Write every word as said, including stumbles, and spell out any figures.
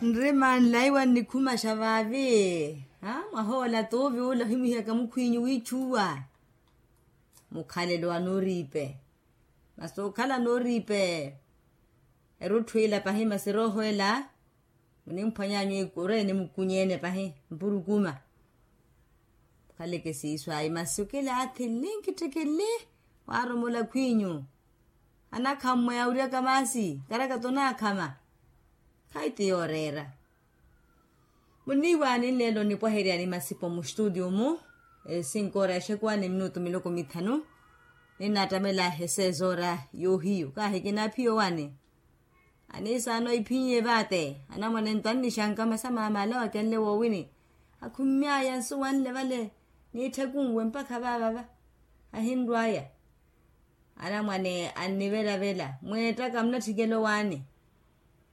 Nrima nlaiwa nnikhumaxa vaavi. Mwahoola tuuvi ula ohimuhiyaka mukhwiinyu wiichuwa. Mukhalelo wa nooriipe. Masi okhala nooriipe. Erutthu ila pahi masi erooho ela munimphwanyanyu ikuru enimukunyeene pahi mpurukuma. Mukhaleke siiso ayi masi okilaathi nli nkittikili. Waaromola khwiinyu. Anakhammwe yawuryaka maasi karakata onaakhama. Khayi ti yooreera. Muniiwaani nleelo nipwaheryani masipo mustutio-mu. Esinkoora exekuwani minutu miloko mithanu. Ninattamela esezoora yoohiyu kaahikina aphiya owani. Aniisaano iphinye vaate anamwane nto annixanka masi amaama ale wakenle woowini. Akhummy'aya nsuwanle vale niitthekunwe mpakha vaavava. Ahinrw'aya. Anamwane annivelavela mweettaka munatthikela owaani.